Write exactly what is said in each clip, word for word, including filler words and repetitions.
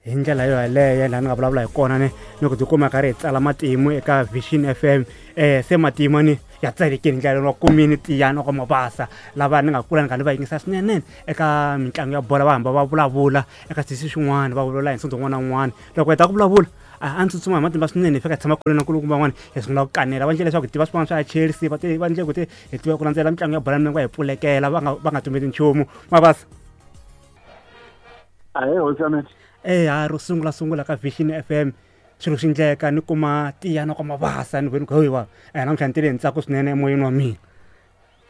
Hi ndlela yo yaleyo laha ni nga vulavula hi kona ni ni ku tikuma karhi hi tsala matimu eka Vision F M. Eh se matimu ni ya tsalekile ndlela wa kumini Tiyani ka Mabasa lava ni nga kula ni nga ni va yingisa swinene eka mitlangu ya bola, va hamba va vulavula eka switichi swin'wana, va vulavula hi nsondzo wun'wana na wun'wana. Loko hi ta ku vulavula a ndzi tsutsuma hi matimba swinene, hi fika hi tshama kule na nkulukumba van'wana, hi sungula ku kanela. Va endle leswaku hi tiva swin'wana swa Chelsea, va va endle ku hi tiva ku landzela mitlangu ya bola milenge, va hi pfulekela, va nga va nga tumbeti nchumu. Mabasa. Ahee, hosi ya mina. Eh ha ro sungula sungula ka Vision F M swilo swi endleka ni kuma Tiyani ka Mabasa ni veni ku hoyiwa eh namuntlha ni tile hi ntsako swinene emoyeni wa mina.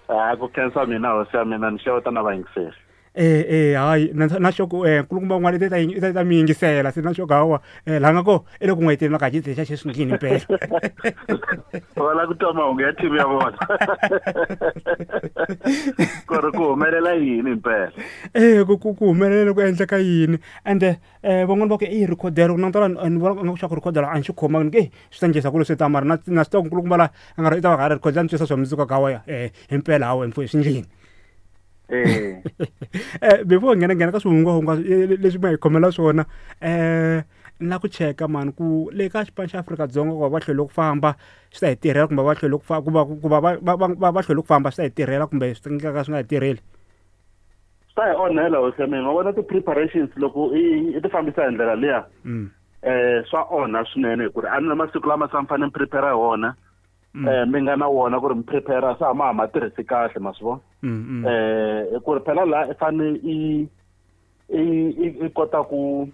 A ku khensa mina hosi ya mina, ni xeweta na vayingiseri. Eh eh hayi na na xoko eh nkulukumba un'wana i ta i ta ta mi yingisela se na xoko hawa eh la nga ko i le ku n'wayiteleni ka xi xa xi ndlini impela. Va lava ku twa mahungu ya team ya vona. Ku ri ku humelela yini impela? Eh ku ku ku humelela ku endleka yini? Ende eh van'wana va ku i rhikhodela, ku langutela ni vona nga ku xa ku rhikhodela a ni xi khomangi, ni ku eh swi ta endlisa ku leswi ta mara na na swi tiva ku nkulukumba la a nga ri i ta va ka rhikhodela ni twisa swa mundzuku ka hawa eh impela hawa mfo swi ndlini. Eh. Eh before nghena nghena ka swihungwahungwa leswi ma hi khomela swona, eh ni la ku cheka mani ku le ka xipano xa Afrika-Dzonga ku va va hlwele ku famba swi ta hi tirhela kumbe va hlwele ku ku va ku va va va va hlwele ku famba swi ta hi tirhela kumbe swi ta ka swi nga hi tirheli? Swi ta hi onhela hosi ya mina. Ma vona ti-preparations loko i i ti fambisa hi ndlela liya, eh swa onha swinene hikuva a ni na masiku lama se mi fanele mi prepare hi wona. Eh mi nga na wona ku ri mi prepare se a ma ha ma tirhisi kahle, ma swi vona? Eh ku ri phela laha i fane i i i kota ku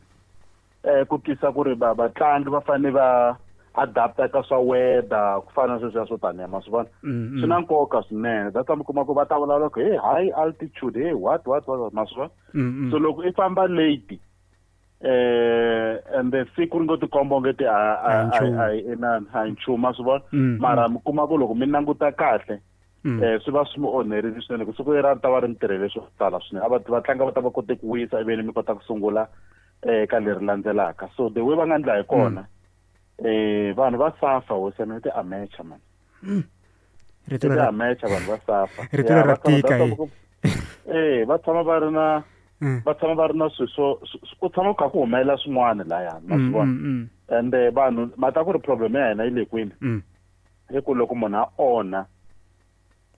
eh ku twisa ku ri va vatlangi va fane va adapta ka swa weather ku fana na sweswiya swo taniya, ma swi vona? Swi na nkoka swinene. That's why mi kuma ku va ta vulavula ku hey high altitude, hey what what what, ma swi vona? So loko i famba late eh ende siku ri ngo tikomba onge ti a a a inani a hi nchumu, ma swi vona? Mara mi kuma ku loko mi languta kahle eh swi va swi mi onherile swinene, ku siku leri a ta va ri mi tirhele swo tala swinene. A va vatlangi va ta va kote ku wisa ivi mi kota ku sungula eh ka leri landzelaka. So the way va nga endla hi kona eh vanhu va safa hosi ya mina, ti amateur man. Rito Ti amateur vanhu va safa. Rito ra tika eh va tshama va ri na va tshama va ri na swilo swo ku tshama ku kha ku humelela swin'wana lahaya, ma swi vona? Ende vanhu ma ta ku ri problem ya hina yi le kwini? I ku loko munhu a onha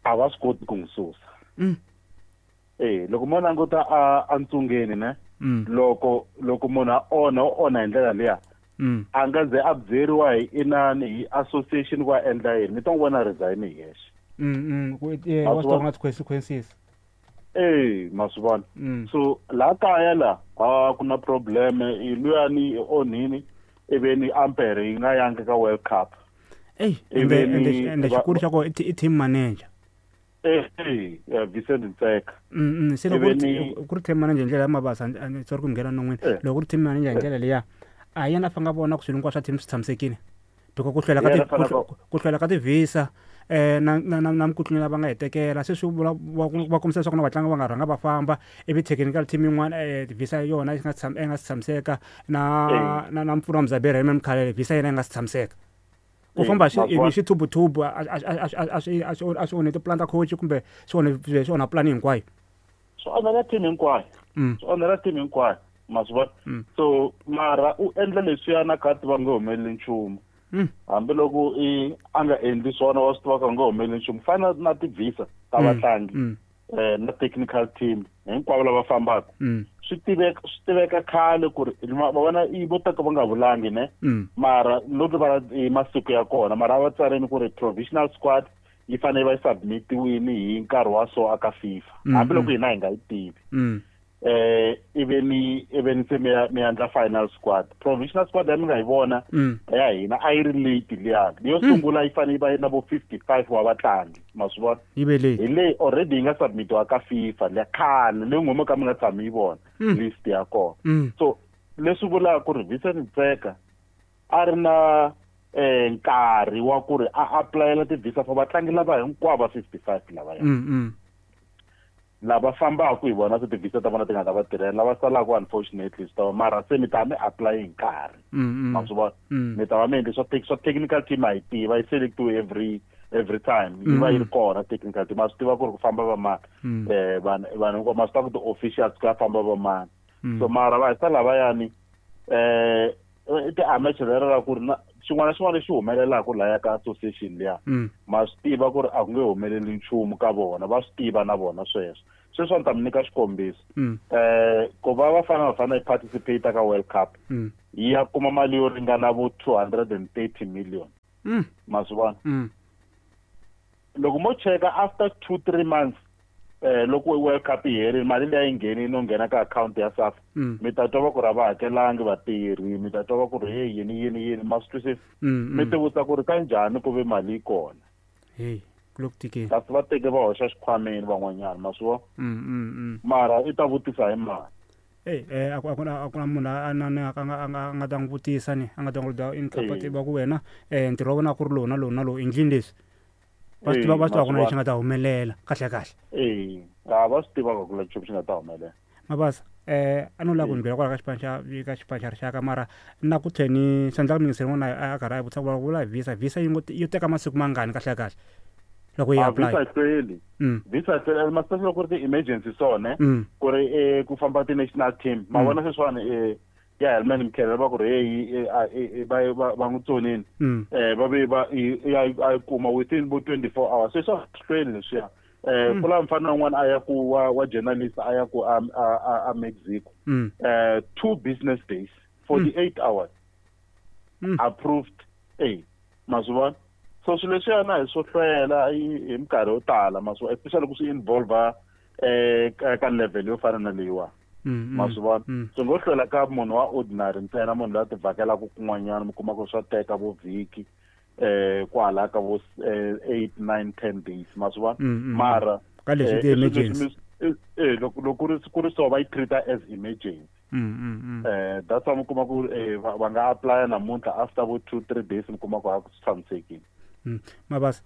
a va swi koti ku n'wi susa. Eh loko mo languta a a ntsungeni ne, loko loko munhu a onha u onha hi ndlela liya, a nga ze a byeriwa hi inani hi association ku a endla yini, mi ta n'wi vona resign hi yexe. Wa swi tiva consequences. Eh ma swi vona? So laha kaya la a ku na problem, i luyani i onhini ivi ampere yi nga yangi ka World Cup. Ey ende ende xikulu xa ko i team manager. Eh eh Vincent Ntseka. Mm se loko ku ri team manager hi ndlela ya Mabasa, sorry ku nghena non'wini. Loko ku ri team manager hi ndlela liya, a yena a fanga vona ku swilo hinkwaswo swa team swi tshamisekile. Because ku hlwela ka ti ku hlwela ka ti-visa eh na na na mikutlunya lava nga hi tekela se swi vula va kombisa leswaku na vatlangi va nga rhanga va famba ivi technical team yin'wana eh visa yona yi nga tsham yi nga si tshamiseka na na na mpfuno wa Mzaberi Raymond Mkhalele visa yena yi nga si tshamiseka. Ku famba xi ivi xi thubu-thubu a a a a swi a swi a swi onhe tipulani ta coach kumbe swi onhe swi onha pulani hinkwayo. Swi onhela team hinkwayo. Swi onhela team hinkwayo, ma swi vona? So mara u endla leswiya na kha tiva nge humeleli nchumu. Hambiloko i a nga endli swona wa swi tiva ku nga humeleli nchumu. Fana na ti-visa ta vatlangi eh na technical team hinkwavo lava fambaka. Swi tiveka swi tiveka khale ku ri va vona i vo ta ka va nga vulangi ne, mara no rivala hi masiku ya kona, mara a va tsarini ku ri provisional squad yi fanele va yi submitiwini hi nkarhi wa so aka FIFA, hambiloko hina hi nga yi tivi. Eh ivi ni ivi ni se mi ya mi endla final squad. Provisional squad ya mi nga yi vona ya hina a yi ri late liya. Yo sungula yi fanele yi va yi na vo fifty-five wa vatlangi, ma swi vona? Yi ve late. Hi leyi already yi nga submitiwa ka FIFA liya khale, leyi n'we mo ka mi nga tshami yi vona list ya kona. So leswi vulaka ku ri Vincent Ntseka a ri na eh nkarhi wa ku ri a applyela ti-visa for vatlangi lava hinkwavo va fifty-five lavaya. Lava fambaka hi vona se ti-visa ta vona ti nga ta va tirhela, lava salaka unfortunately swi ta va mara se mi ta mi apply hi nkarhi. Ma swi vona? Mi ta va mi endle swa swa technical team a yi tiva, yi selectiwe every every time. Yi va yi ri kona technical team, ma swi tiva ku ri ku famba va mani. Eh vanhu vanhu hinkwavo ma swi tiva ku ti-officials ku ya famba va mani. So mara va hisa lavayani Eh ti-amateur lera ra ku ri na xin'wana na xin'wana lexi humelelaka laya ka association liya ma swi tiva ku ri a ku nge humeleli nchumu ka vona, va swi tiva na vona sweswo. Sweswi a ni ta mi nyika xikombiso. Eh ku va Bafana Bafana yi participate ka World Cup yi ya kuma mali yo ringana vo two hundred and thirty million. Ma swi vona? Loko mo cheka after two three months eh loko World Cup yi herile mali leyi yi ngheni no nghena ka account ya SAFA mi ta twa va ku ri a va hakelangi vatirhi, mi ta twa va ku ri hey yini yini yini, ma swi twisisa? Mi ti vutisa ku ri kanjhani ku ve mali yi kona. Hey ku le ku tikeni. Kasi va teke va hoxa xikhwameni van'wanyana, ma swi vona? Mara i ta vutisa hi mali. Hey eh a ku na a ku na munhu a na na a nga a nga ta n'wi vutisa ni a nga ta n'wi da incapacity va ku wena eh ntirho wa wena ku ri lowu na lowu na lowu endlini leswi. Va swi tiva va swi tiva ku na lexi nga ta humelela kahle kahle. Eh a va swi tiva ku na lexi xi nga ta humelela. Mabasa eh a no lava ku ndlela kwala ka xipano xa ka xipano xa rixaka mara na ku tlheni swi endla ku muyingiseri n'wana a karhi a vutisa ku vula visa visa yi ngo yi teka masiku mangani kahle kahle loko yi apply. Visa hlweli. Visa hlweli especially loko ku ri ti-emergency so ne ku ri eh ku famba ti-national team ma vona sweswiwani eh ya Helman Mkhalele va ku ri hey va va va n'wi tsonini eh va ve va ya a kuma within vo twenty-four hours. Sweswo a swi hlweli leswiya. Eh ku la mfana un'wana a ya ku wa wa journalist a ya ku a a Mexico eh two business days forty-eight hours approved. Eh ma swi vona? So swilo leswiyana hi swo hlwela hi minkarhi yo tala, ma swi vona, especially ku swi involve eh ka level yo fana na leyiwa. Ma swi vona? Swi ngo hlwela ka munhu wa ordinary ntsena, munhu loyi a ti vhakelaka kun'wanyana mi kuma ku swa teka vo vhiki eh kwala ka vo eight nine ten days, ma swi vona? Mara ka leswi ti-emergency eh loko loko ku ri ku ri so va yi treat as emergency. Eh that's why mi kuma ku va nga apply namuntlha after vo two three days mi kuma ku a ku tshamisekile. Mabasa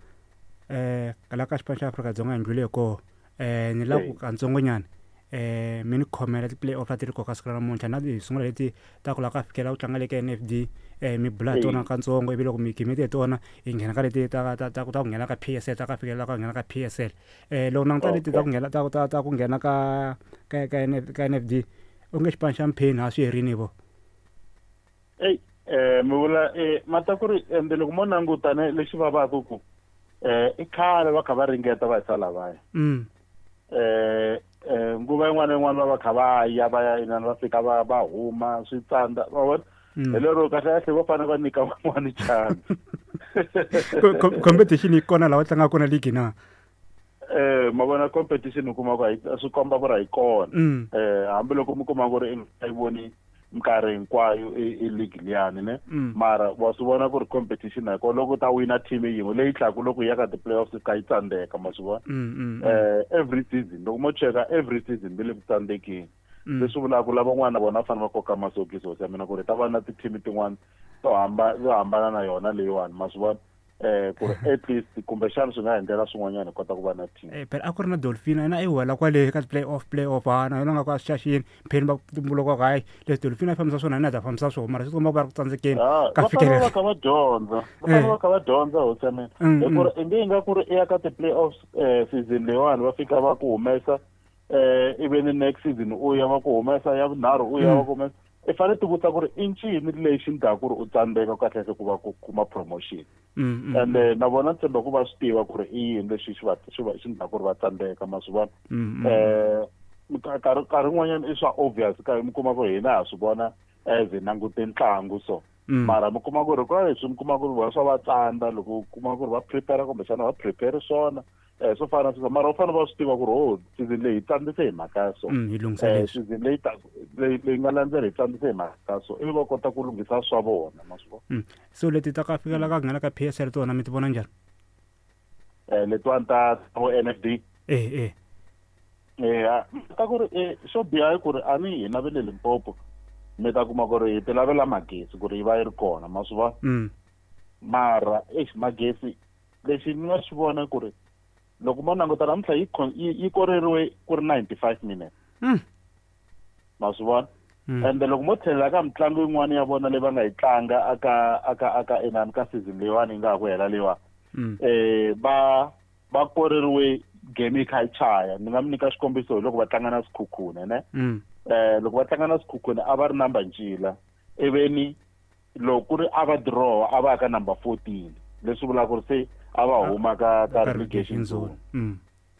eh kala ka xipano xa Afrika-Dzonga hi ndlwile koho eh ni lava ku kantsongonyana eh mi ni khomela ti-play-off leti ri koka siku ra namuntlha na hi sungula leti ta ku lava ka fikela ku tlanga le ka N F D eh mi bula hi tona katsongo ivi loko mi gimete hi tona hi nghena ka leti ta ta ta ku nghena ka P S L ta ka fikela ka nghena ka P S L eh loko languta leti ta ku nghena ta ta ta ku nghena ka ka ka ka N F D u nge xipano xa Mpheni a swi herini vo. Ey eh mi vula eh mata ku ri ende loko mo languta ne lexi vavaka ku eh i khale va kha va ringeta va hisa lavaya. Eh eh nguva yin'wana yin'wana va va kha va ya va ya inani va fika va va huma swi tsandza va vona hi lero kahle kahle va fanele va nyika van'wani chance. Competition yi kona laha va tlangaka kona league na? Eh ma vona competition u kuma ku swi komba ku ri a yi kona. Eh hambiloko mi kuma ku ri a yi voni minkarhi hinkwayo i league liyani ne mara wa swi vona ku ri competition a yi kona. Loko u ta wina team yin'we leyi tlhaku loko yi ya ka ti-playoffs ka yi tsandzeka, ma swi vona? Eh every season loko mo cheka every season va le ku tsandzekeni. Leswi vulaka ku lavan'wana vona va fanele va koka masokisi hosi ya mina ku ri ta va na ti-team tin'wana to hambana to hambana na yona leyiwani, ma swi vona? Eh ku ri at least kumbexana swi nga endlela swin'wanyana hi kota ku va na team. Eh phela a ku ri na Dolphin na i wela kwale ka play off play off ha na yona nga ku a swi xaxini Mpheni va tumbuluka ku hayi leswi Dolphin a fambisa swona na ta fambisa swona mara swi komba ku va ri ku tsandzekeni ka fikelela. Va kha va dyondza, va fanele va kha va dyondza hosi ya mina. Hi ku ri i nge yi nga ku ri i ya ka ti-playoffs eh season leyiwani va fika va ku humesa eh ivi ni next season u ya va ku humesa ya vunharhu u ya va ku humesa. I fanele ti vutisa ku ri i ncini lexi endlaka ku ri u tsandzeka kahle kahle ku va ku kuma promotion. Ende na vona tshemba ku va swi tiva ku ri i yini lexi xi va xi va xi endlaka ku ri va tsandzeka, ma swi vona? Eh nkarhi nkarhi wun'wanyana i swa obvious ka mi kuma ku hina ha swi vona as hi langute ntlangu so mara mi kuma ku ri kwa leswi mi kuma ku ri vona swa va tsandza loko u kuma ku ri va prepare kumbexana va prepare swona eh swo fana na sweswo mara u fanele va swi tiva ku ri oh season leyi hi tsandzise hi mhaka ya so eh season leyi leyi leyi nga landzela hi tsandzise hi mhaka so ivi va kota ku lunghisa swa vona, ma swi vona? So leti ta ka fikela ka nghena ka P S L tona mi ti vona njhani? Eh letiwani ta vo N F D eh eh eh ta ku ri eh xo biha i ku ri a ni hina va le Limpopo mi ta kuma ku ri hi ti lavela magesi ku ri yi va yi ri kona, ma swi vona? Mara eish magesi lexi ni nga swi vona ku ri loko mo languta namuntlha yi yi koreriwe ku ri ninety-five minutes. Ma swi vona? Ende loko mo tlhelela ka mitlangu yin'wana ya vona leyi va nga yi tlanga aka aka aka inani ka season leyiwani yi nga ha ku hela leyiwani eh va va koreriwe game yi kha yi chaya. Ni nga mi nyika xikombiso hi loko va tlanga na Sekhukhune ne eh loko va tlanga na Sekhukhune a va ri number ncila Iveni loko ku ri a va draw a va ka number fourteen leswi vulaka ku ri se a va huma ka ka relegation zone.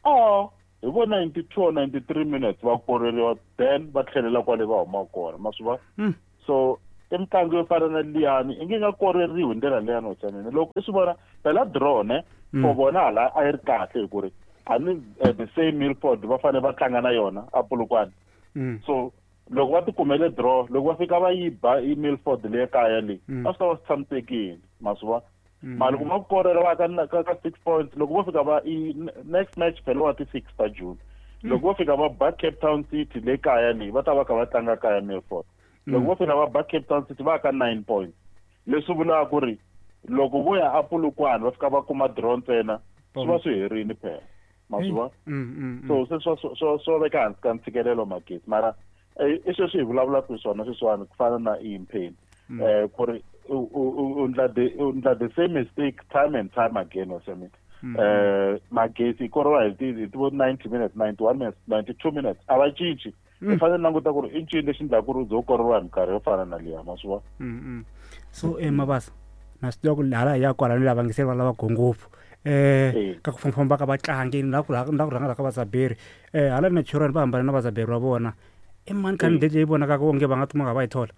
Oh hi vo ninety-two ninety-three minutes va koreriwa then va tlhelela kwale va huma kona ma swi vona. So i mitlangu yo fana na liyani i nge nga koreriwi hi ndlela leyani wa mina loko i swi vona phela draw ne for vona hala a yi ri kahle hi ku ri a ni the same Milford va fanele va tlanga na yona a Polokwane. So loko va tikumele draw loko va fika va yi ba i Milford le kaya le a swi ta va swi tshamisekile ma swi vona. Mara loko va korela va ka ka six points loko vo fika va i next match phela wa ti six ta June loko vo fika va ba Cape Town City le kaya le va ta va kha va tlanga kaya Milford. Loko vo fika va ba Cape Town City va ka nine points leswi vulaka ku ri loko vo ya a Polokwane va fika va kuma draw ntsena swi va swi herini phela ma swi vona. So se swa swa swo veka hansi ka ntshikelelo magezi mara i sweswi hi vulavulaka hi swona sweswiwani ku fana na Impeni eh ku ri u ndla the u ndla the same mistake time and time again wa sami eh magezi koriwa hi ti ti vo ninety minutes ninety-one minutes ninety-two minutes a va cinci. I fanele languta ku ri i ncini lexi endlaka ku ri u ze u koriwa hi minkarhi yo fana na liya ma swi vona. So eh Mabasa na swi tiva ku hala hi ya kwalano lava ngiseri va lava ngopfu eh ka ku fambafamba ka vatlangi na ku na ku rhanga ka Vazaberi eh hala Natural va hambana na Vazaberi va vona i mani candidate leyi vonakaka onge va nga tuma nga va yi thola?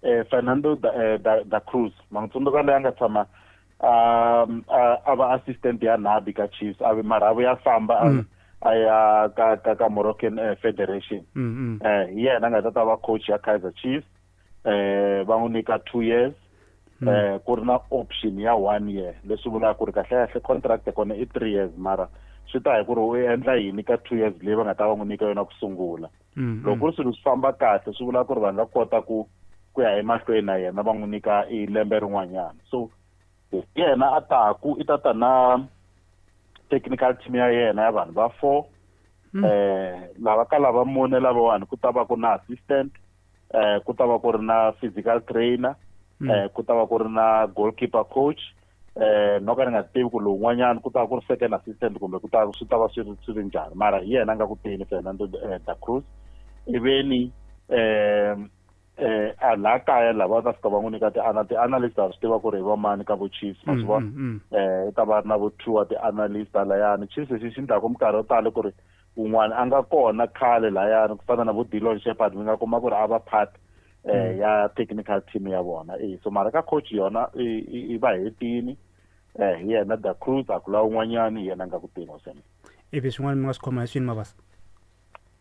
Eh Fernando da, eh, da, da Cruz mangitsundzuka leyi a nga tshama a va assistant ya Nabi ka Chiefs a mara a vuya famba a ya ka ka ka Moroccan eh, Federation. Eh hi yena a nga ta ta va coach ya Kaizer Chiefs eh va n'wi nyika two years eh ku ri na option ya one year leswi vulaka ku ri kahle kahle contract ya kona i three years mara swi ta hi ku ri u endla yini ka two years leyi va nga ta va n'wi nyika yona ku sungula. Loko ku ri swilo swi famba kahle swi vula ku ri va nga kota ku ku ya emahlweni na yena va n'wi nyika i lembe rin'wanyana. So yena a taku i ta ta na technical team ya yena ya vanhu va four eh lava ka lava mune lavawani ku ta va ku na assistant eh ku ta va ku ri na physical trainer eh ku ta va ku ri na goalkeeper coach eh no ka ni nga tivi ku lowun'wanyana ku ta va ku ri second assistant kumbe ku ta swi ta va swi swi ri njhani mara hi yena a nga ku teni Fernando da Cruz. Iveni eh eh a la kaya lava ta fika va n'wi nyika ti-analyst a swi tiva ku ri hi vamani ka vo Chiefs ma swi vona eh i ta va ri na vo two wa ti-analyst layani. Chiefs lexi xi endlaku minkarhi yo tala ku ri un'wana a nga kona khale layani ku fana na vo Dillon Sheppard mi nga kuma ku ri a va part eh ya technical team ya vona eh so mara ka coach yona i va hetini eh hi yena da Cruz a ku la un'wanyani hi yena a nga ku teni wasena. Ivi swin'wana mi nga swi khoma hi swini Mabasa?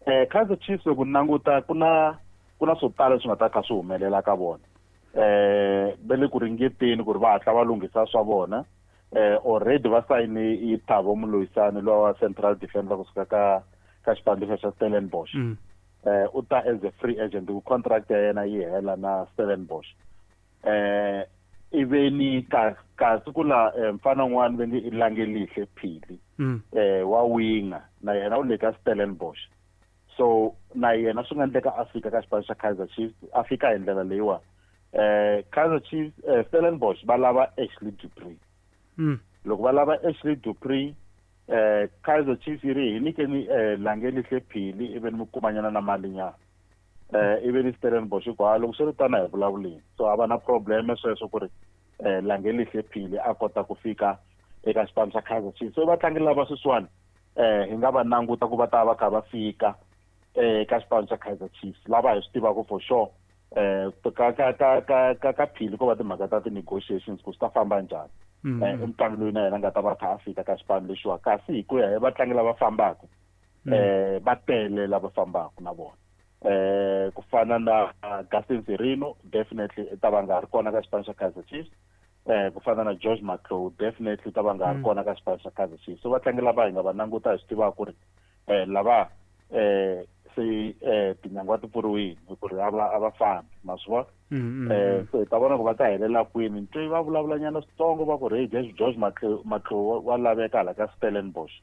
Eh Kaizer Chiefs loko languta ku na ku na swo tala leswi nga ta kha swi humelela ka vona eh va le ku ringeteni ku ri va hatla va lunghisa swa vona eh already va sayine i Thabo Moloisane lowa wa central defender kusuka ka ka xipano xa Stellenbosch. Eh u ta as a free agent ku contract ya yena yi hela na Stellenbosch. Eh iveni ka kasi ku la mfana un'wana va nge i Langelihle Phili eh wa winger na yena u le ka Stellenbosch. So na yena swi nga endleka a fika ka xipano xa Kaizer Chiefs a fika hi ndlela leyiwa eh Kaizer Chiefs eh, Stellenbosch va lava Ashley Dupree. Loko va lava Ashley Dupree eh Kaizer Chiefs yi ri hi nyikeni eh Langelihle Phili ivi mi kumanyana na malinyana eh ivi ni Stellenbosch ku ha loko swi ri tana hi vulavuleni so a va na problem sweswo ku ri eh Langelihle Phili a kota ku fika eka xipano xa Kaizer Chiefs. So vatlangi lava sweswiwani eh hi nga va languta ku va ta va kha va fika eh ka xipano xa Kaizer Chiefs lava hi swi tivaka for sure eh ka ka ka ka ka ka Phili ko va timhaka ta ti-negotiations ku swi ta famba njhani eh i mutlangi loyi na yena a nga ta va kha a fika ka xipano lexiwa kasi hi ku ya hi vatlangi lava fambaka eh va tele lava fambaka na vona eh ku fana na Gaston Serino definitely i ta va nga ri kona ka xipano xa Kaizer Chiefs eh ku fana na George Matlou definitely ta va nga ri kona ka xipano xa Kaizer Chiefs. So vatlangi lava hi nga va languta hi swi tivaka ku ri eh lava eh se eh tinyangwa ti pfuriwile hi ku ri a va a va fambi ma swi vona. Eh so hi ta vona ku va ta helela kwini ntwe va vulavulanyana switsongo va ku ri hey George Matlou wa laveka hala ka Stellenbosch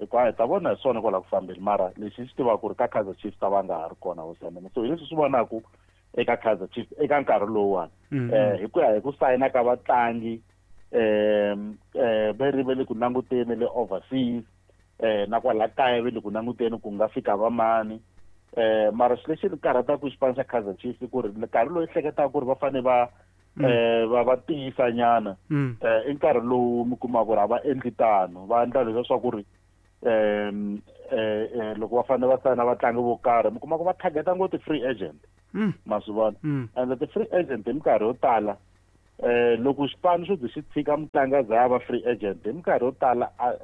hikuva hi ta vona hi swona kwala ku fambeni mara lexi xi tivaka ku ri ka Kaizer Chiefs ta va nga ha ri kona hosi ya mina. So hi leswi swi vonaka eka Kaizer Chiefs eka nkarhi lowuwani eh hi ku ya hi ku sayina ka vatlangi eh eh va ri va le ku languteni le overseas eh na kwala kaya va le ku languteni ku nga fika vamani Eh mara xilo lexi ni karhataka xipano xa Kaizer Chiefs ku ri nkarhi lowu ehleketaka ku ri va fanele va eh va va tiyisa nyana eh i nkarhi lowu mi kumaka ku ri a va endli tano, va endla leswiya swa ku ri um eh loko va fanele va sayina vatlangi vo karhi mi kuma ku va targeta ngopfu ti-free agent, ma swi vona. And ti-free agent hi minkarhi yo tala eh loko xipano xo ze xi tshika mutlangi a za a va free agent hi minkarhi yo tala a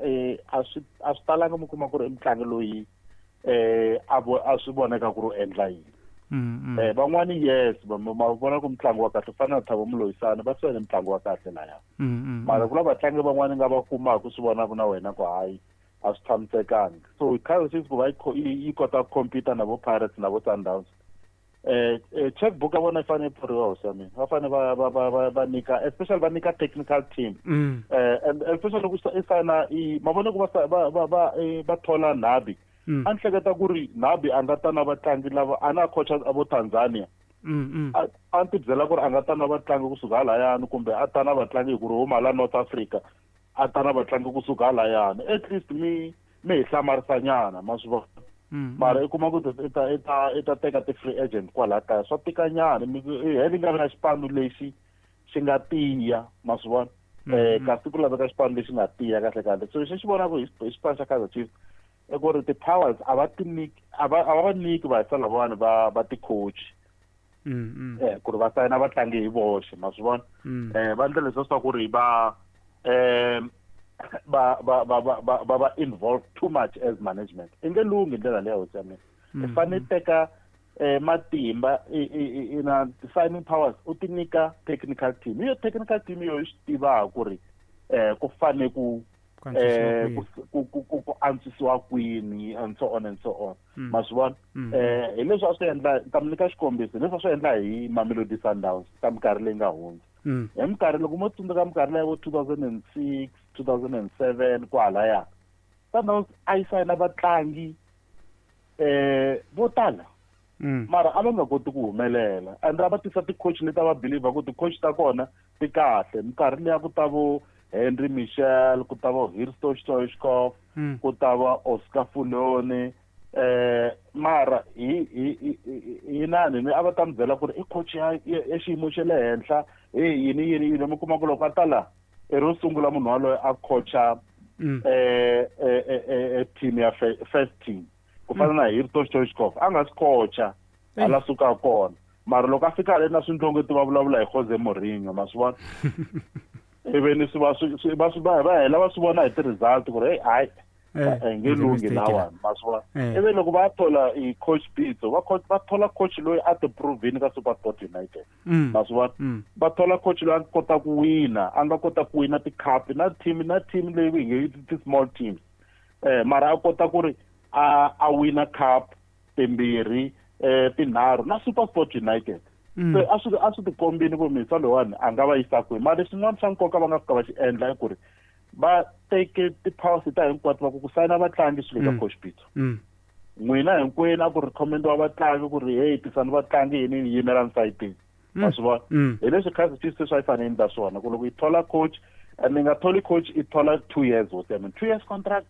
a swi a swi talanga mi kuma ku ri i mutlangi loyi eh a a swi voneka ku ri u endla yini. Eh van'wani yes ma vona ku mutlangi wa kahle fana na Thabo Moloisane va sayine mutlangi wa kahle laya, mara ku na vatlangi van'wani nga va kumaka swi vonaka na wena ku hayi a swi tshamisekanga. So Kaizer Chiefs ku va yi kota ku compete na vo Pirates na vo Sundowns, eh checkbook ya vona yi fanele yi pfuriwa hosi ya mina, va fanele va va va va nyika especially va nyika technical team eh and especially loko i sayina i ma vona ku va va va va va thola Nabi, a ni hleketa ku ri Nabi a nga ta na vatlangi lava a na coach a vo Tanzania, a a ni ti byela ku ri a nga ta na vatlangi kusuka halayani kumbe a ta na vatlangi hi ku ri huma la North Africa, a ta na vatlangi kusuka halayani, at least mi mi hi hlamarisanyana ma swi vona. Mara i kuma ku i ta i ta i ta teka ti-free agent kwalaya kaya swa tikanyana, heli nga vi na xipano lexi xi nga tiya ma swi vona, eh kasi ku laveka xipano lexi nga tiya kahle kahle. So lexi xi vonaka hi xipano xa Kaizer Chiefs i ku ri ti-powers a va ti nyiki a va a va nyiki vahisa lavawani va va ti-coach eh ku ri va sayina vatlangi hi voxe ma swi vona, eh va endla leswiya swa ku ri va eh ba ba ba ba ba ba involved too much as management. I nge lunghi ndlela leya hosi ya mina, i fanele teka eh matimba i na signing powers u ti nyika technical team, iyo technical team yo yi swi tivaka ku ri eh ku fane ku eh ku ku ku antswisiwa kwini and so on and so on ma swi vona. Eh hi leswi a swi endla ta mi nyika xikombiso leswi a swi endla hi Mamelodi Sundowns ka minkarhi leyi nga hundza. Hi minkarhi loko mo tsundzuka minkarhi leyi vo two thousand and six two thousand and seven kwalaya Sundowns a yi sayina vatlangi eh vo tala, mara a va nga koti ku humelela and a va tisa ti-coach leti a va believer ku ti-coach ta kona ti kahle. Minkarhi liya ku ta vo Henry Michel, ku ta vo Hristo Stoichkov, ku ta va Oscar Fulone, eh mara hi hi hi nani ni a va ta mi byela ku ri i coach ya ya xiyimo xa le henhla hey yini yini yini, mi kuma ku loko a ta la i ro sungula munhu waloye a coacha eh eh team ya first team ku fana na Hristo Stoichkov a nga swi coacha a la suka kona, mara loko a fika le na swindlongeti va vulavula hi Jose Mourinho ma swi vona, ivi ni swi va swi va swi va va hela va swi vona hi ti-result ku ri hey hayi nge lunghi lawani ma swi vona. Ivi loko va thola i coach Pitso va va thola coach loyi a ti provini ka SuperSport United ma swi vona, va thola coach loyi a kota ku wina, a nga kota ku wina ti-cup na team na team leyi hi nge ti-small teams eh mara a kota ku ri a a wina cup timbirhi eh tinharhu na SuperSport United. Se a swi a swi tikombini ku misa loyiwani a nga va yisa kwihi. Mara lexin'wana xa nkoka va nga fika va xi endla i ku ri va teke ti-powers ta hinkwato va ku ku sayina vatlangi swilo ka coach Pitso, n'wina hinkwenu a ku recommend-iwa vatlangi ku ri hey tisani vatlangi yini ni yimelani sayitini ma swi vona. Hi leswi Kaizer Chiefs se swa yi fanele yi endla swona ku loko yi thola coach ni nga tholi coach i thola two years hosi ya mina, two years contract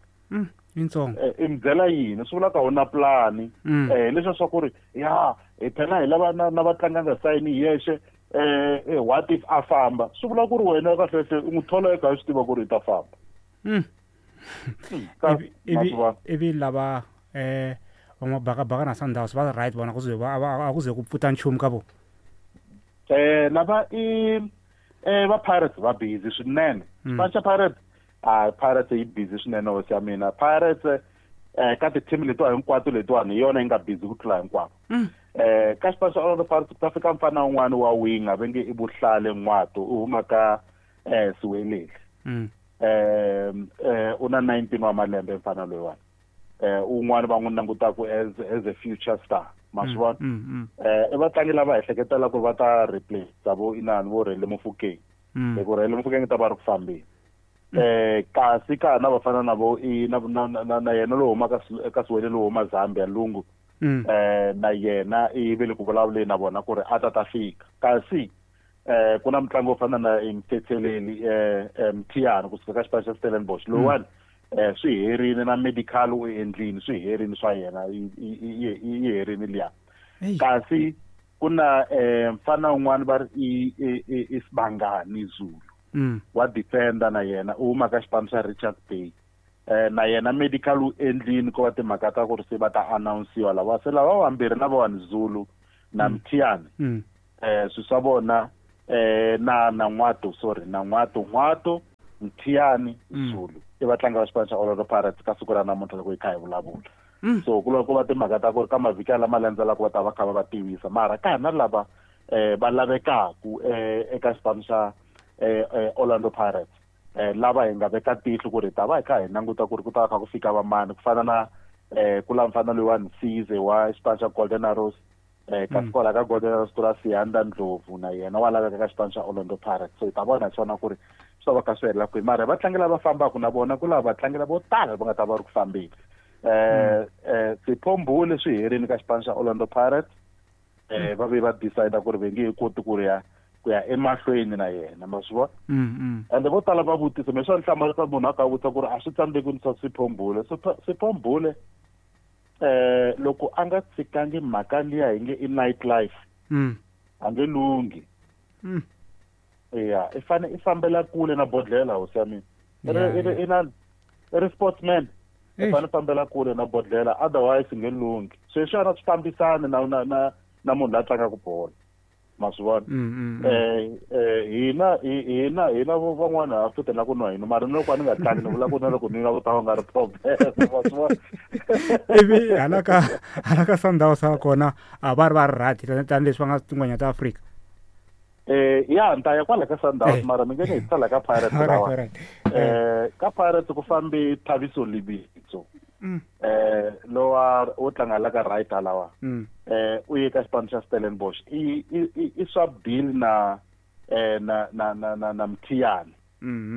yitsongo i mi byela yini swi vula ka u na plani eh leswi swa ku ri ya hi phela hi lava na vatlangi a nga sayini hi yexe eh what if a famba, swi vula ku ri wena kahle kahle u n'wi thola eka swi tiva ku ri i ta famba. Ivi ivi lava eh va mabakabaka na Sundowns va right vona ku ze va a ku ze ku pfuta nchumu ka vo eh lava i eh va Pirates va busy swinene, xipano xa Pirates a Pirates yi busy swinene hosi ya mina. Pirates eh ka ti-team letiwa hinkwato letiwani hi yona yi nga busy ku tlula hinkwavo. Eh ka xipano xa Orlando Pirates ku ta fika mfana wun'wani wa winga va nge i Buhlale Ngwato u huma ka eh Siwelele, eh eh u na nineteen wa malembe mfana loyiwani, eh un'wana va n'wi langutaka as as a future star ma swi vona. Eh i vatlangi lava ehleketela ku va ta replace vo inani vo Rele Mofokeng, hi ku Rele Mofokeng ta va ri ku fambeni eh kasi ka na vafana na vo i na na na yena lowu huma ka ka Siwelele lowu huma Zambia Lungu eh na yena i ve le ku vulavuleni na vona ku ri a ta ta fika kasi eh ku na mutlangi wo fana na Mthetheleli eh Mthiyane kusuka ka xipano xa Stellenbosch lowuwani Eh swi herini na medical u endlini swi herini swa yena yi herini liya. Kasi ku na eh mfana un'wana va ri i i Sibangani Zulu. Wa defender na yena u huma ka xipano xa Richards Bay. Eh na yena medical u endlini ko va timhaka ta ku ri se va ta announce-iwa lava se lava vambirhi na vona Zulu na Mthiyane. Eh swi swa vona eh na na N'wato sorry na N'wato N'wato Mthiyane Zulu i vatlangi va xipano xa Orlando Pirates ka siku ra namuntlha loko hi kha hi vulavula. So ku loko va timhaka ta ku ri ka mavhiki lama landzelaka va ta va kha va va tivisa mara ka hina lava eh va lavekaku eh eka xipano xa eh Orlando Pirates eh lava hi nga veka tihlo ku ri ta va hi kha hi languta ku ri ku ta kha ku fika vamani ku fana na eh ku la mfana loyi wa Nsize wa xipano xa Golden Arrows eh kasi kwala ka Golden Arrows ku la Siyanda Ndlovu na yena wa laveka ka xipano xa Orlando Pirates. So hi ta vona swona ku ri swi va ka swi helela kwihi mara vatlangi lava fambaka na vona ku lava vatlangi lavo tala va nga ta va ri ku fambeni. Eh eh Siphombule swi herini ka xipano xa Orlando Pirates eh va ve va decide ku ri va nge he koti ku ri ya ku ya emahlweni na yena ma swi vona. Ende vo tala va vutisa me swa nhlamarisa munhu a ka vutisa ku ri a swi tsandzeki ni swa Siphombule. Siphombule eh loko a nga tshikangi mhaka liya hi nge i night life a nge lunghi. Ya i fane i fambela kule na bodlela hosi ya mina. I i na i ri sportsman i fane fambela kule na bodlela otherwise nge lunghi. Sweswi a na swi fambisani na na na na munhu la tlangaka bolo ma swi vona. Eh eh hina hina hina van'wana ha futhi na ku nwa hina mara loko a ni nga tlangi ni vula ku na loko ni nga ta va nga ri problem ma swi vona. Ivi hala ka hala ka Sundowns ha kona a va ri va ri right tanihileswi va nga tingwenya ta Afrika. Eh ya nta ya kwala ka Sundowns mara mi nge ni hi tsala ka Pirates lawa. Eh ka Pirates ku fambi Thabiso Lebitso. Eh lowa wo tlanga la ka right lawa. Eh u ye ka xipano xa Stellenbosch i i i swap deal na eh na na na na na Mthiyane.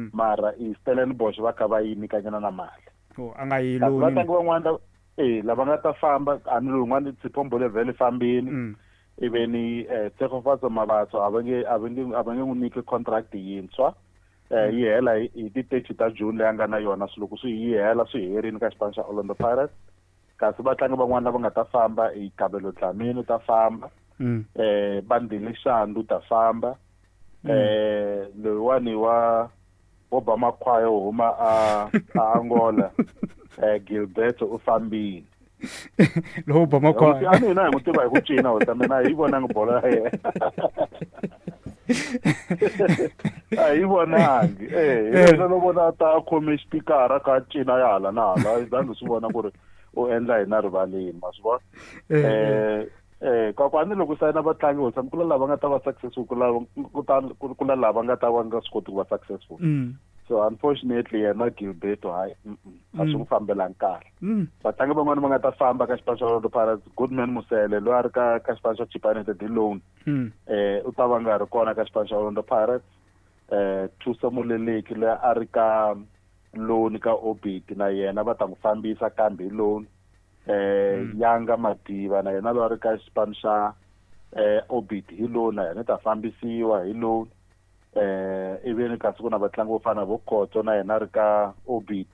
Mara i Stellenbosch va kha va yi nyikanyana na mali. Oh a nga yi loni. Vatlangi van'wana eh lava nga ta famba a ni lowun'wana Siphombule vhele fambini. Iveni eh Tshegofatso Mabatso a va nge a va nge a va nge n'wi nyiki contract yintshwa. Eh yi hela hi ti thirty ta June leyi a nga na yona swi loko swi yi hela swi herini ka xipano xa Orlando Pirates. Kasi vatlangi van'wana lava nga ta famba i Kabelo Dlamini ta famba. Eh Bandile Shandu ta famba. Eh loyiwani wa Obama Khwayo huma a a Angola eh Gilberto u fambile. Lowo Obama Khwayo a mina hi n'wi tiva hi ku cina hosi mina hi vonanga bolo ya yena. A hi vonangi eh yena lo vona ta khome xipikara ka cina ya hala na hala zangi swi vona ku ri u endla hina rivaleni ma swi vona. Eh eh kwakwani loko sayina vatlangi hosi ku la lava nga ta va successful ku la ku ta ku la lava nga ta va nga swi koti ku va successful. So unfortunately yena Gilberto hayi a swi n'wi fambelangi kahle. Vatlangi van'wana va nga ta famba ka xipano xa Orlando Pirates Goodman Musele loyi a ri ka ka xipano xa Chippa United hi loan eh u ta va nga ri kona ka xipano xa Orlando Pirates. Eh Thuso Moleleki loyi a ri ka loan ka Orbit na yena va ta n'wi fambisa kambe hi loan. Eh Yanga Madiba na yena loyi a ri ka xipano xa eh Orbit hi loan na yena ta fambisiwa hi loan. Eh ivi kasi ku na vatlangi vo fana vo Khotso na yena ri ka Orbit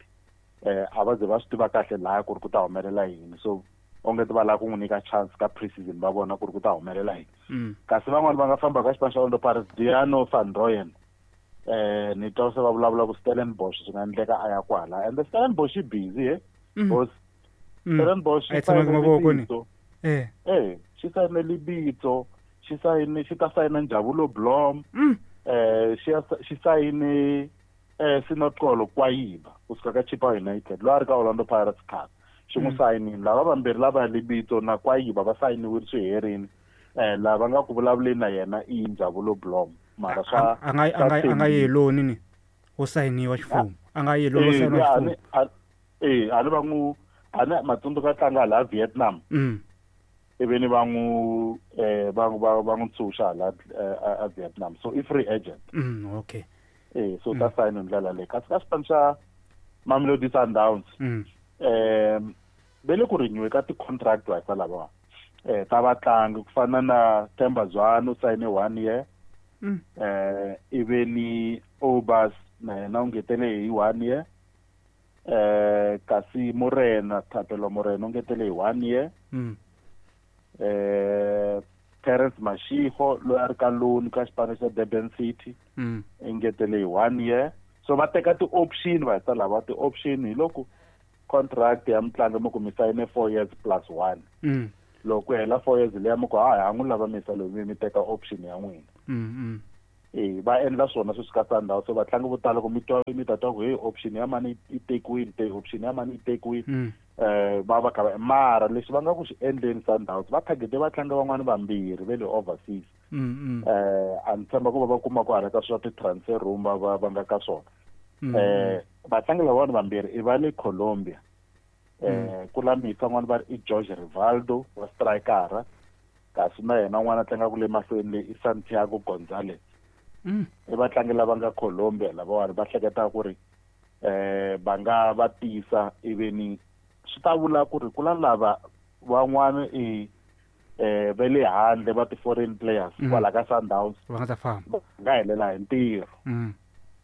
eh a va ze va swi tiva kahle laha ku ri ku ta humelela yini so onge ti va lava ku n'wi nyika chance ka pre-season va vona ku ri ku ta humelela yini. Kasi van'wana va nga famba ka xipano xa Orlando Pirates Diano van Rooyen eh ni twa se va vulavula ku Stellenbosch swi nga endleka a ya kwala and Stellenbosch i busy eh because Stellenbosch a tshama mavoko ni eh eh xi sayine Lebitso xi sayine xi ta sayina Njabulo Blom eh xi xi sayine eh Sinoxolo Kwayiba kusuka ka Chippa United loyi a ri ka Orlando Pirates khale xi n'wi sayinile lava vambirhi lava Lebitso na Kwayiba va sayiniwile swi herini eh lava nga ku vulavuleni na yena i Njabulo Blom mara swa a nga a nga a nga yi loni ni wo sayiniwa xifumo a nga yi loni wo sayiniwa xifumo eh a ni va n'wi a ni matsundzuka tlanga laha Vietnam ivi va n'wi eh va va va n'wi tshunxa la a Vietnam so i free agent. Mm okay eh so ta sayina ndlela leyi kasi ka xipano xa Mamelodi Sundowns eh ve le ku renew ka ti-contract wa ka lava eh ta vatlangi ku fana na Themba Zwane u sayine one year eh ivi ni Obas na yena u ngetele hi one year Eh kasi Morena Thapelo Morena u ngetele hi one year. Mm. Eh Terence Mashigo loyi a ri ka loan ka xipano xa Durban City. Mm. Engetele hi one year. So va teka ti-option va heta lava ti-option hi loko contract ya mutlangi mi ku mi sayine four years plus one. Mm. Loko ku hela four years liya mi ku hayi ha n'wi lava misa loyi mi mi teka option ya n'wina. Mm, mm. Eh va endla swona sweswi ka Sundowns. So vatlangi vo tala ku mi twa mi ta twa ku hey option ya mani yi tekiwile, te option ya mani yi tekiwile. Mm. Eh va va kha va mara lexi va nga ku xi endleni Sundowns va targete vatlangi van'wani vambirhi va le overseas. Mm, mm. Eh a ni tshemba ku va va kuma ku hala ka swa ti-transfer room va va va nga ka swona. Mm. Eh vatlangi lavawani vambirhi i va le Colombia. Eh Mm. ku la misa n'wana va ri i Jorge Rivaldo wa strikera, kasi na yena n'wana a tlangaka le mahlweni le i Santiago Gonzalez. Mm. I vatlangi lava nga Colombia lavawani va hleketaka ku ri eh va nga va tisa iveni swi ta vula ku ri ku la lava van'wana i eh va le handle va ti-foreign players Mm. kwala ka Sundowns va nga ta famba. va nga helela hi ntirho. Mm.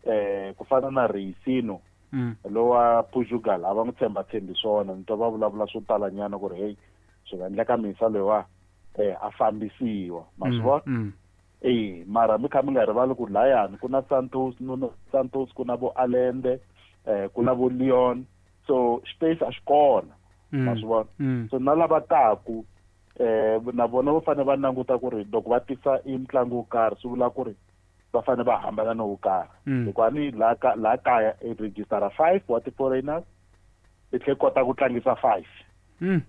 Eh ku fana na Reisino Mm. lowa Portugal a va n'wi tshemba tshembi swona, ni twa va vulavula swo talanyana ku ri hey swi nga endleka misa loyiwa eh a fambisiwa ma swi Mm, vona. mm. Eh mara mi kha mi nga rivali ku layani ku na Santos, Nuno Santos, ku na vo Allende, eh ku na vo Leon, so space a xi kona ma swi vona. Mm. So na lava taku eh na vona va fanele va languta ku ri loko va tisa i mutlangi wo karhi swi vula ku ri va fanele va hambana no wo karhi. Mm. Hikuva ni laha ka laha kaya i registera five wa ti-foreigners i tlhe kota ku tlangisa five. Mm.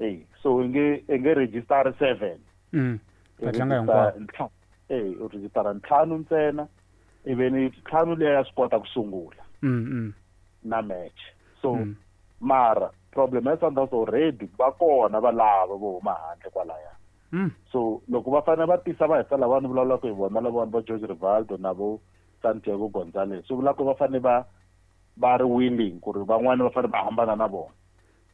Eh so i nge i nge registera seven. Mm. I Va tlanga register hinkwavo. ntlhanu. Eh u registera ntlhanu ntsena ivi ni ntlhanu liya ya swi kota ku sungula Mm, mm. na match. So Mm. mara problem ya Sundowns already va kona va lava vo huma handle kwalaya. Mm. So loko va fanele va tisa va heta lava ni vulavulaka hi vona lavawani va Jorge Rivaldo na vo Santiago Gonzalez, swi vula ku va fanele va va ri willing ku ri van'wani va fanele va hambana na vona.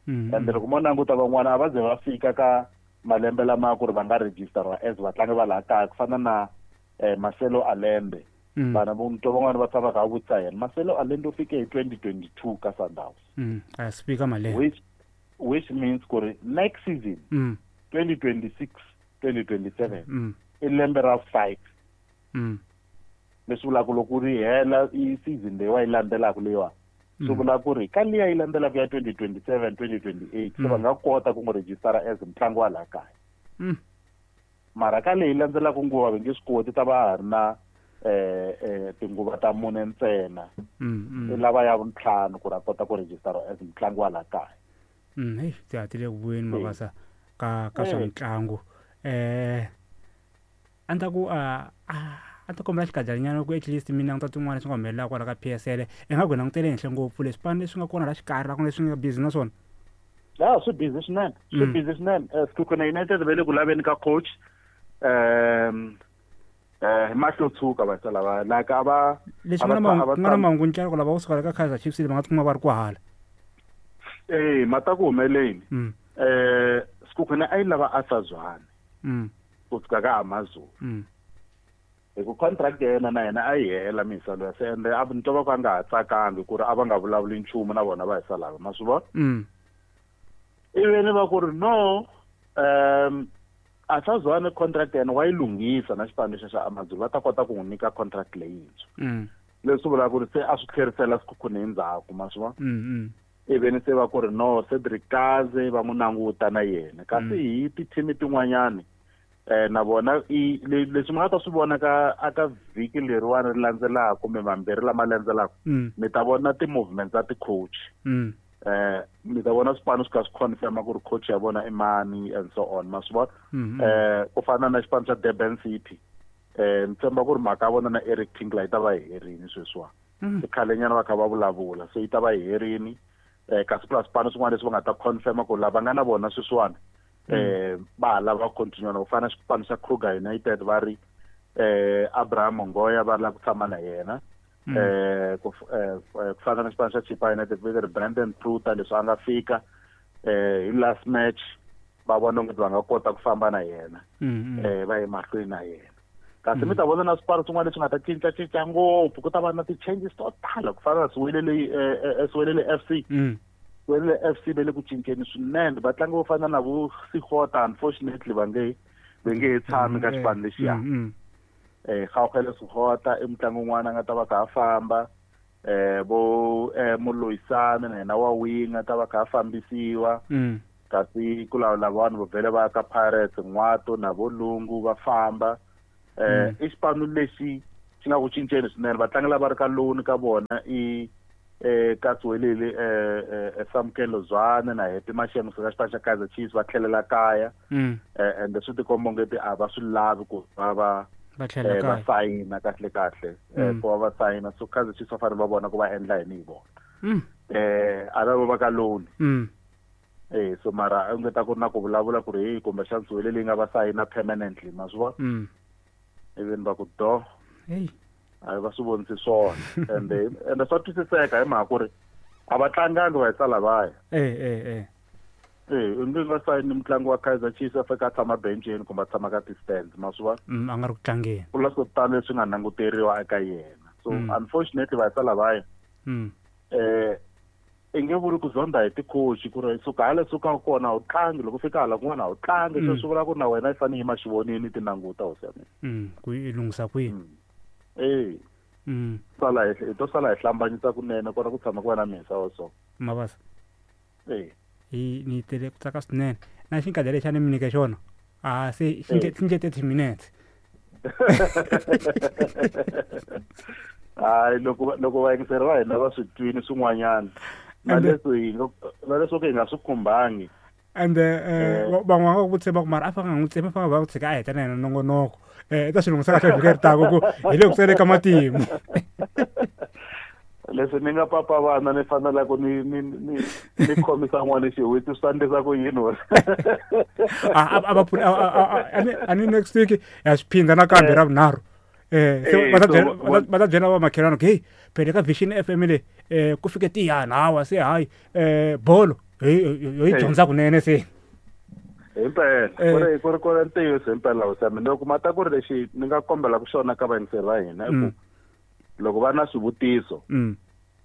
Mm, Ende loko mo languta van'wana a va ze va fika ka malembe lama ku ri va nga registeriwa as vatlangi va laha kaya ku fana na eh Marcelo Allende. Mm. Vana vo twa van'wani va tshama kha vutisa yena. Marcelo Allende u fike hi twenty twenty-two ka Sundowns. Mm. A swi fika malembe. Which, which means ku ri next season Mm. twenty twenty-six twenty twenty-seven Mm. i lembe ra five. Mm. Leswi vulaka loko ri hela i season leyi wa yi landzelaka leyiwa. Swi Mm. vula ku ri ka liya yi landzelaka ya twenty twenty-seven twenty twenty-eight se va Mm. nga kota ku n'wi registera as mutlangi wa laha kaya. Mm. Mara ka leyi landzelaka nguva va nge swi koti, ta va ha ri na eh, eh, tinguva ta mune ntsena. Mm, mm. I lava ya vuntlhanu ku ri a kota ku registera as mutlangi wa laha kaya. Mm, hey, ti hatile ku vuyeni Eh. Mabasa ka ka swa Eh. mitlangu. Eh a ni ta ku a a ta kombela xikajanyana ku at least mi languta tin'wana leswi nga humelelaka kwala ka P S L. I nga ku hi langutele henhla ngopfu leswi swipano leswi nga kona laha xikarhi la ku leswi nga busy na swona. Ya, swi busy swinene, swi Mm. busy swinene. Eh, Sekhukhune United va le ku laveni ka coach. Ehm, eh, hi mahlo tshuka va sala va like a va Leswi a va nga na tsa- a va mahungu, nga na tshami. mahungu ntlela ku lava kusuka la ka Kaizer Chiefs va nga tikuma va ri ku hala. Eh, mata ku humeleni. Mm. Eh, Sekhukhune a yi lava Arthur Zwane Mm. kusuka ka Amazulu. Mm. Hi ku contract ya yena na yena a yi hela misa loyi se ende a ni twa va ku a nga ha tsakangi ku ri a va nga vulavuli nchumu na vona va hi salava, ma swi vona? Mm. Ivi ni va ku ri no, um, Arthur Zwane contract ya yena wa yi lunghisa na xipano xa xa Amazulu, va ta kota ku n'wi nyika contract leyintshwa. Mm. Leswi vulaka ku ri se a swi tlherisela Sekhukhune endzhaku, ma swi vona? Mm, mm. Ivi ni se va ku ri no, Cedric Kaze va n'wi languta na yena. Kasi Mm. hi ti-team tin'wanyani, eh, na vona i le-, leswi mi nga ta swi vona ka, aka vhiki leriwani ri landzelaka kumbe mambirhi lama landzelaka, Mm. mi ta vona ti-movements ta ti-coach. Mm. Eh, mi ta vona swipano swi kha swi confirma ku ri coach ya vona i mani and so on, ma swi vona? Mm, mm. Eh, ku fana na xipano xa Durban City. Eh, ni tshemba ku ri mhaka ya vona na Eric Tinkler yi ta va yi herini sweswiwani. Mm. I khalenyana va kha va vulavula, so yi ta va yi herini. Eh, kasi plus swipano swin'wana leswi va nga ta confirma ku lava nga na vona sweswiwani, Mm. eh, va ha lava ku continue na ku fana na xipano xa Kruger United va ri, eh, Abraham Mongoya va lava ku tshama na yena. Mm. Eh, ku f-, eh, eh, ku fana na xipano xa Chippa United va ri Brandon Truter leswi a nga fika, eh, hi last match va vona onge va nga kota ku famba na yena. Mm, mm. Eh, va ye mahlweni na yena. Kasi mi ta vona na swipano swin'wana leswi nga ta cincacinca ngopfu, ku ta va na ti-changes to tala ku fana na Siwelele Siwelele F C. Siwelele F C va le ku cinceni swinene, vatlangi vo fana na vo Sigota unfortunately va nge va nge he tshami ka xipano lexiya. Eh Kgaogelo Sigota i mutlangi un'wana a nga ta va kha a famba, eh vo Moloisane na yena wa winga ta va kha a fambisiwa. Kasi ku lava vanhu vo vhele va ka Pirates N'wato na vo Lungu va famba. Eh i xipano lexi xi nga ku cinceni swinene, vatlangi lava ri ka loan ka vona i eh ka Siwelele eh Samkelo Zwane na Happy Mashemo ka xipano xa Kaizer Chiefs va tlhelela kaya. Eh ende swi tikomba ongeti a va swi lavi ku va va va tlhelela va sayina kahle kahle, ku va va sayina. So Kaizer Chiefs va fanele va vona ku va endla yini hi vona. Eh a va va ka loan. Eh so mara a nga ta ku ri na ku vulavula ku ri hey kumbexana Siwelele yi nga va sayina permanently, ma swi vona? Even va ku do hey a va swi vonisi swona. Ende ende swa twisiseka hi mhaka ku ri a va tlangangi va hisa lavaya. Eh eh eh eh u nge nga sayini mutlangi wa Kaizer Chiefs a fika a tshama benceni kumbe a tshama ka ti-stands, ma swi vona? A nga ri ku tlangeni, ku la swo tala leswi nga languteriwa eka yena. So unfortunately va hisa lavaya eh i nge vuli ku zonda hi ti-coach ku ri suka hala suka kona a wu tlangi, loko fika hala kun'wana a wu tlangi. Se swi vula ku na wena i fanele yima xivonini ti languta hosi ya mina ku i lunghisa kwihi. Eh sala hi to sala hi hlambanyisa kunene kona ku tshama ku va na misa wa so Mabasa. Eh hi ni tele ku tsaka swinene na xinkadya lexi a ni mi nyike xona a se xi nge thirty minutes. Hayi loko loko vayingiseri va hina va swi twini swin'wanyana na leswi hi nga na leswi hi nga swi khumbangi. Ende van'wana va ku tshemba ku mara a fa nga n'wi tshemba, fa va ku tshika a heta na yena nongonoko eh ta swi lunghisa kahle vhiki leri taka ku hi le ku tsele ka matimu. Leswi ni nga papa vana ni fanela ku ni ni ni ni khomisa n'wana xiwitsi swi ta endlisa ku yini wena? A a va pfuni a ni next week ya swi phindha nakambe ra vunharhu. Eh se va ta byela va ta byela va makhelwani ku hey phela ka Vision F M le eh ku fike tiyana hawa se hayi eh bolo hi yi dyondza kunene se. Himpela ku ri ku ri ku ri ntiyiso himpela hosi ya mina. Loko mata ku ri lexi ni nga kombela ku xona ka vayingiseri va hina i ku loko va na swivutiso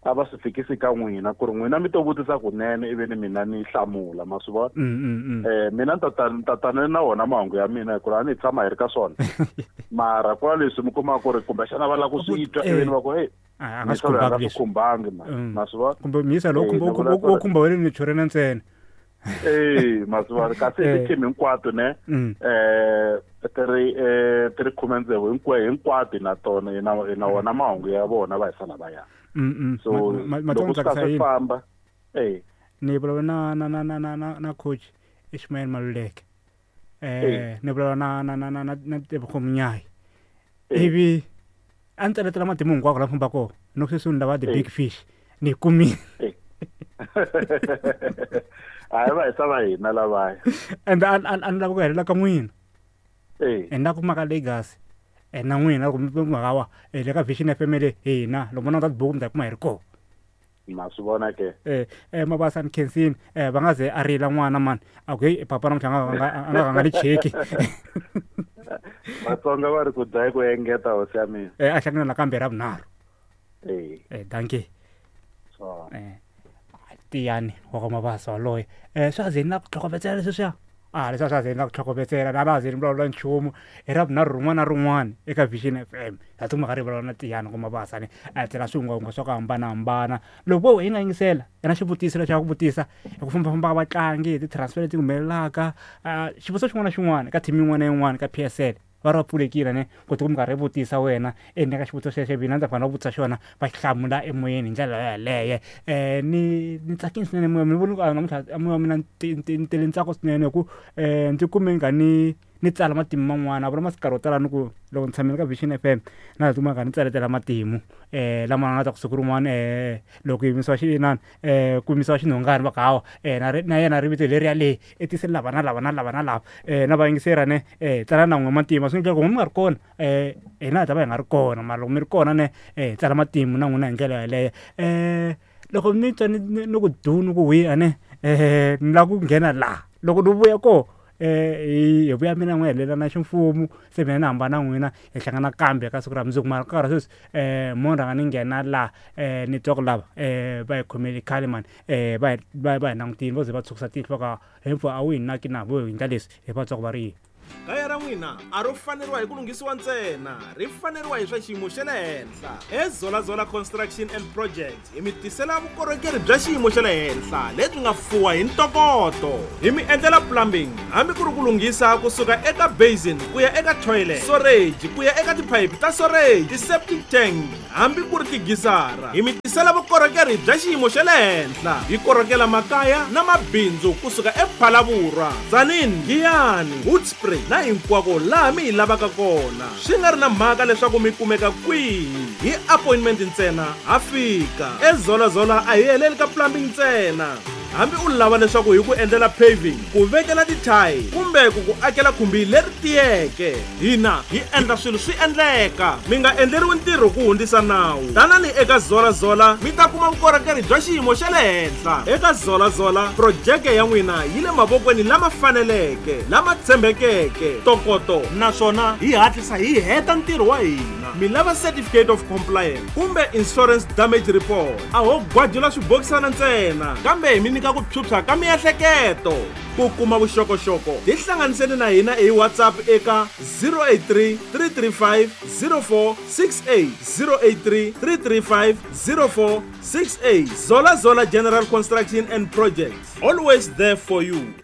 a va swi fikisi ka n'wina ku ri n'wina mi to vutisa kunene ivi ni mina ni hlamula, ma swi vona? Eh mina ni ta tana na wona mahungu ya mina hikuva a ni tshama hi ri ka swona. Mara ku na leswi mi kumaka ku ri kumbexana va lava ku swi twa ivi ni va ku hey a nga swi khumbangi ma swi vona? Kumbe miyisa lowu wo khumba wena ni chorena ntsena. Eh ma swi vona? Kasi hi ti-team hinkwato ne eh ti ri ti ri khume tsevu hinkwato hinkwato na tona hi na hi na wona mahungu ya vona va hisa lavaya. So loko swi swi famba eh ni vulavula na na na na na na coach Ishmael Maluleke eh ni vulavula na na na na na Tebogo Munyai ivi a ni tsaletela matimu hinkwako la famba kona no sweswi ni lava the big fish ni kumile. Hayi va hisa va hina lavaya. Ende a a ni lava ku helela ka n'wina. Eh ni la ku maka Legacy na n'wina loko mi mhaka wa le ka Vision F M le hina loko mo languta tibuku mi ta kuma hi ri kona. Ma swi vona ke? Eh eh Mabasa ni khensini eh va nga ze a rila n'wana mani a ku hey papa namuntlha a nga a nga nga ni cheki. Vatsonga va ri ku dlaya ku engeta hosi ya mina. Eh a hlangana nakambe ra vunharhu. Eh eh dankie. So eh Tiyani wa ka Mabasa waloye eh swa ze ni la ku tlhokovetsela leswiya. A leswi a swa ze ni la ku tlhokovetsela na va ze ni vulavula nchumu hi ra vunharhu rin'wana na rin'wana eka Vision F M ha tikuma ka ri vulavula na Tiyani wa ka Mabasa ni a tsela swihungwahungwa swa ku hambanahambana. Loko vo hi nga yingisela hi na xivutiso lexi a ku vutisa hi ku fambafamba ka vatlangi hi ti-transfer leti humelelaka xivutiso xin'wana na xin'wana ka team yin'wana na yin'wana ka P S L va ri va pfulekile ne ku tikuma karhi vutisa wena ende ka xivutiso xexo mina ndzi fanele ku vutisa xona va xi hlamula emoyeni hi ndlela yeleyo. Eh ni ni tsakile swinene moya mi voni ku namuntlha moya wa mina ni tele ntsako swinene hi ku eh ndzi kume nga ni ni tsala matimu man'wana a vula masikarhi yo tala ni ku loko ni tshamile ka Vision F M na tikuma ka ni tsaletela matimu eh lama nga ta ku siku rin'wana eh loko yimisiwa xinani eh ku yimisiwa xinhongani va ku hawa eh na na yena ri vito leriya le i tise lava na lava na lava na lava eh na vayingiseri ne eh tsala na n'we matimu swi endla ku mi nga ri kona eh hina hi ta va hi nga ri kona mara loko mi ri kona ne eh tsala matimu na n'wina hi ndlela yeleyo. Eh loko mi twa ni ni ku du ni ku hwi ane eh ni lava ku nghena laha loko ni vuya koho eh hi vuya mina n'wi helela na ximfumo se mina ni hambana n'wina hi hlangana kambe ka siku ra mundzuku mara ka nkarhi sweswi um mo rhanga ni nghena laha um ni twa ku lava um va hi khomele khale mani um va hi va va hi langutile vo ze va tshukisa tihlo va ka hempfu a wu hi naki na vo hi endla leswi hi va twa ku va ri yini. Kaya ra n'wina a ro faneriwa hi ku lunghisiwa ntsena, ri faneriwa hi swa xiyimo xa le henhla. EZolaZola Construction and Projects hi mi tisela vukorhokeri bya xiyimo xa le henhla lebyi nga fuwa hi ntokoto. Hi mi endlela plumbing hambi ku ri ku lunghisa kusuka eka basin ku ya eka toilet, storage ku ya eka tiphayiphi ta storage, ti-septic tank hambi ku ri tigisara. Hi mi tisela vukorhokeri bya xiyimo xa le henhla. Hi korhokela makaya na mabindzu kusuka ePhalaborwa, Tzaneen, Giyani, Hoedspruit na hinkwako laha mi hi lavaka kona. Swi nga ri na mhaka leswaku mi kumeka kwihi, hi appointment ntsena ha fika. EZolaZola a hi heleli ka plumbing ntsena. Hambi u lava leswaku hi ku endlela paving, ku vekela tithayi kumbe ku ku akela khumbi leri tiyeke, hina hi endla swilo swi endleka. Mi nga endleriwi ntirho ku hundzisa nawu. Tanani eka ZolaZola mi ta kuma vukorhokeri bya xiyimo xa le henhla. Eka ZolaZola projeke ya n'wina yi le mavokweni lama faneleke, lama tshembekeke, ntokoto, naswona hi hatlisa hi heta ntirho wa hina. Mi lava certificate of compliance kumbe insurance damage report, a ho gwajula swibokisana ntsena, kambe hi mi nyika ku phyuphya ka miehleketo. Ku kuma vuxokoxoko tihlanganiseni na hina hi WhatsApp eka zero eight three, three three five, zero four six eight, zero eight three, three three five, zero four six eight. ZolaZola General Construction and Projects, always there for you.